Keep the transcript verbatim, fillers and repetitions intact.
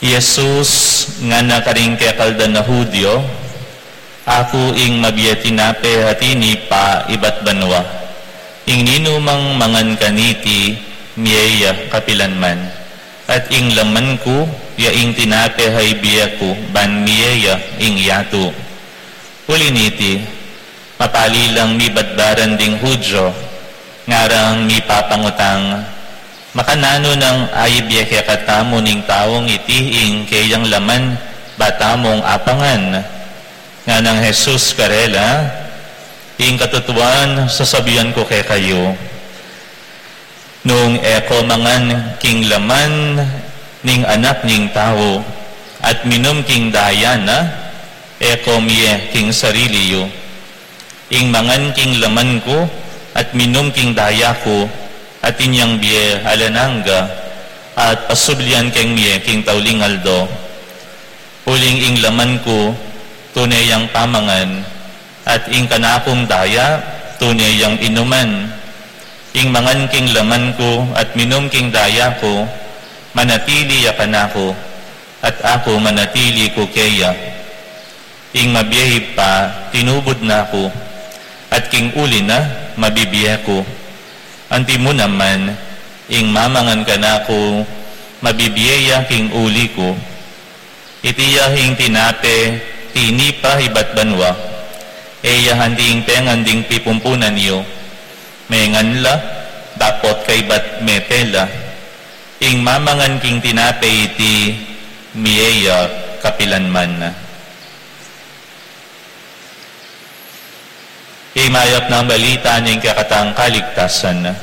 Jesus ngana karing kekaldang Judio, "Aku ing mabie tinape a tinipa ibat banua. Ing ninumang mangan kaniti mie ya kapilanman. At ing laman ku ya ing tinape a ibie ku ban mie ya ing yatu." Uli niti, mapali lang mibatbaran ding Judio, ngarang mipapangutang, "Makananu nang aibie kekatamu ning taung iti ing keyang laman ba tamung apangan?" Nganang Jesus karela, "Ing katutuan sasabian ku kekayu, nung e ko mangan king laman ning Anak ning Tau at minum king daya na, e ko mie king sarili yu. Ing mangan king laman ku at minum king daya ku, atin yang bie alang angga, at pasublian keng mie king tauling aldo. Uling ing laman ku tune yang pamangan, at ing kanakung daya tune yang inuman. Ing mangan king laman ku at minum king daya ku, manatili ya kanaku, at aku manatili ku keya. Ing mabie Ibpa, tinubud na ku, at king uli na, mabibie ku. Antimu naman, ing mamangan kanaku, mabibie ya king uli ku. Iti ya ing tinape tinipa ibat banua. E ya anti ing pengan ding pipumpunan yu. Mengan la, dapot kaybat mete la. Ing mamangan king tinape iti, mie ya kapilanman." Ing mayap nang balita ning kekatang kaligtasan.